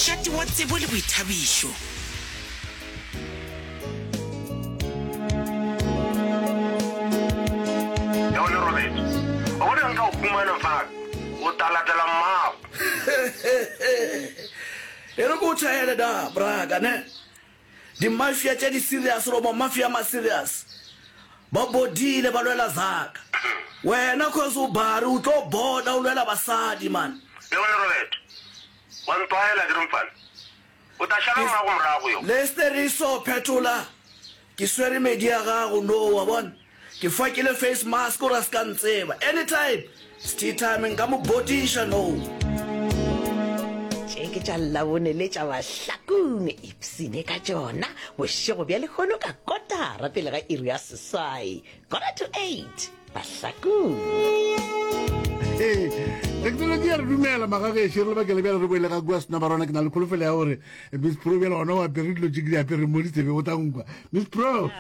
Mošate wa tsebo le boithabišo. Ya o le robetše. Wa bona nka o humana fa o ta latela mmago. E re ke o tšhaele da, braka, ne? Di-mafia tše di serious goba mafia a ma serious ba bodile ba lwela zaka. Wena cause o bare o tlo boda o lwela basadi man. Le wena Robert, wa ntlwaela ke re mfana. O tla šala mmago morago yo. Lester so phetola ke swere medi ya gago no wa bona ke fakile face mask gore a ska ntseba anytime sti time nka mo bodiša no. Tše ke tša Labone le tša Bahlakong, ipsine ka tšona bošego bja lehono ka kotara pele ga iri ya seswai, quarter to eight. Bahlakong. Ee, thekenoloji ya re dumela magagešo re lebakele bjale re boele ga kua sena barona ke na le kholofelo ya gore miss pro bjale gona o apere dilo tše ke di apere mo ditsebe o tla nkwa miss pro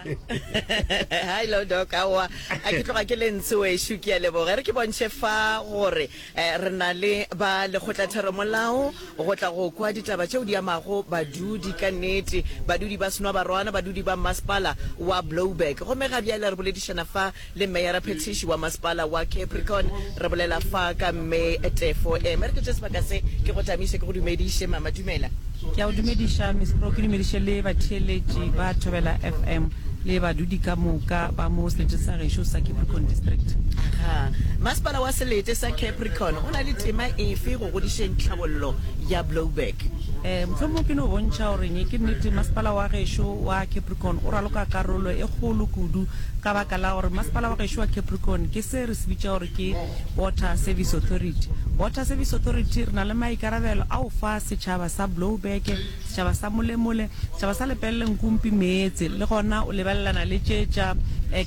hello doc aowa a ke tloga ke le ntshe wešo ke a leboga e re ke bontšhe fa gore eh, re na le ba lekgotlatheromolao go tla go kwa ditaba tšeo di amago badudi ka nnete badudi ba senwabarwana badudi ba mmasepala wa Blouberg gomme ga bjale re boledišana fa le meyara phethiši wa masepala wa Capricorn. Re bolela fa ka Mme Tefo Eme. Re ke tše sebaka se ke go tamiše ke go dumediše mama. Dumela. Ke a go dumediša Miss Pro, ke dumediše le batheeletši ba Thobela FM le badudi ka moka ba mo seleteng sa gešo sa Capricorn District. Aga, masepala wa selete sa Capricorn o na le tema efe go godišeng tlhabollo ya Blouberg? Eh, mohlomongwe ke no bontšha gore ke nnete masepala wa gešo wa Capricorn o raloka karolo e kgolo kudu Ka baka la gore masepala wa gešo wa Capricorn ke se re se bitša gore ke Water Service Authority. Water Service Authority re na le maikarabelo a go fa setšhaba sa Blouberg, setšhaba sa Molemole, setšhaba sa Lepelle Nkumpi meetse le gona o lebelelana le tše tša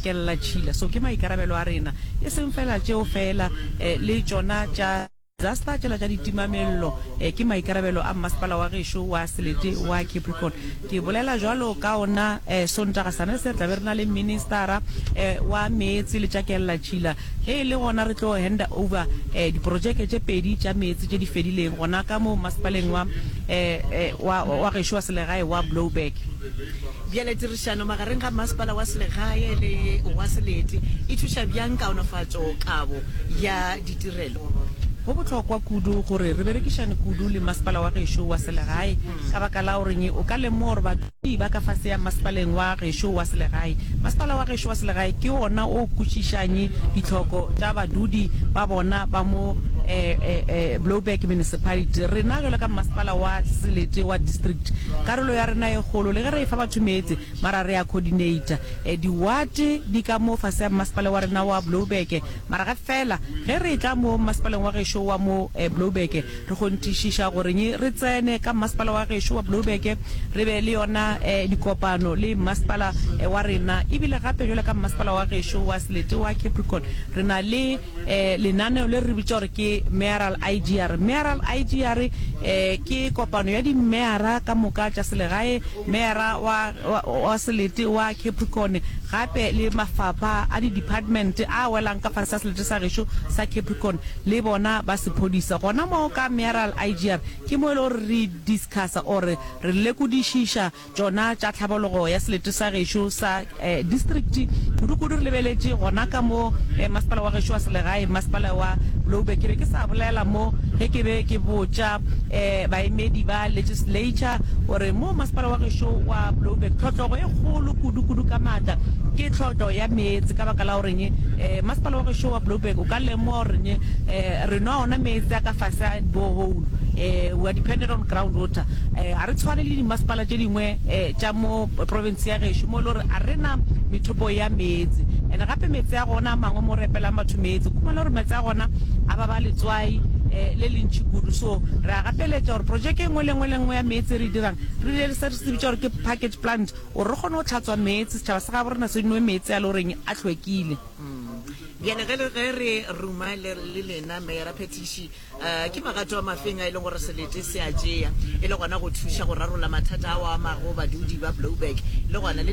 kellatšhila. So ke maikarabelo a rena. E seng fela tšeo fela le tšona tša. Disaster tšela tša ditimamello ke maikarabelo a mmasepala wa gešo wa selete wa Capricorn. Ke bolela bjalo ka ona Sontaga sane se re tla be re na le ministara wa meetse le tša kellatšhila ge e le gona re tlo handa over diprojeke tše pedi tša meetse tše di fedileng gona ka mo mmasepaleng wa wa gešo wa selegae wa Blouberg. Bjale tirišano magareng ga mmasepala wa selegae le wa selete e thuša bjang kaonafatšo kabo ya ditirelo? Go bohlokwa kudu gore re berekišane kudu le masepala wa gešo wa selegae ka baka la goreng o ka lemoga gore badudi ba ka fase ya masepaleng wa gešo wa selegae. Masepala wa gešo wa selegae ke wona o kwešišang ditlhoko tša badudi ba bona ba mo Blouberg Municipality. Rena bjalo ka masepala wa selete wa district, karolo ya rena e kgolo le ge re efa batho meetse mara re a coordinator. Diwate di ka mo fase ya masepala wa rena wa Blouberg. Mara ge feela ge re etla mo mmasepaleng wa gešo wa mo Blouberg, re kgonthišiša goreng re tsene ka mmasepala wa gešo wa Blouberg, re be le yona dikopano le mmasepala wa rena. Ebile gape bjalo ka mmasepala wa gešo wa selete wa Capricorn, re na le lenaneo le re le bitša gore ke Mayoral IGR. Mayoral IGR ke kopano ya dimeyara ka moka tša selegae, meyara wa, wa, wa selete wa Capricorn, gape le mafapha a di-department a welang ka fase ga selete sa gešo sa Capricorn le bona ba sephodisa. Gona moo ka Mayoral IGR ke mo e le gore re discussa or re lekodišiša tšona tša tlhabologo ya selete sa gešo sa district, kudu-kudu re lebeletše gona ka mo masepala wa gešo wa selegae, masepala wa Blouberg. Ke be ke sa bolela mo ge ke be ke botša baemedi ba legislature gore mo masepala wa gešo wa Blouberg tlhotlogo e kgolo kudu-kudu ka maatla ke tlhotlo ya meetse ka baka la goreng masepala wa gešo wa Blouberg o ka lemoga goreng re nwa ona meetse a ka fase a borehole, we are dependent on ground water. Ga re tshwane le dimasepala tše dingwe tša mo province ya gešo mo e le gore ga re na methopo ya meetse. And gape meetse a gona a mangwe mo re epelang batho meetse, o khumana gore meetse a gona a ba ba letswai le le ntši kudu. So re a gapeletša gore projeke e nngwe le nngwe le nngwe ya meetse e re e dirang, re dire se re se bitša gore ke package plant gore re kgone go tlhatswa meetse, setšhaba sa gabo rena se nwe meetse a le goreng a hlwekile. Bjale ge ge re ruma le le lena Meyara Phethiši, eh, ke magato a mafeng a e leng gore selete se a tšea e le gona go thuša go rarolla mathata ao a amago badudi ba Blouberg le gona le.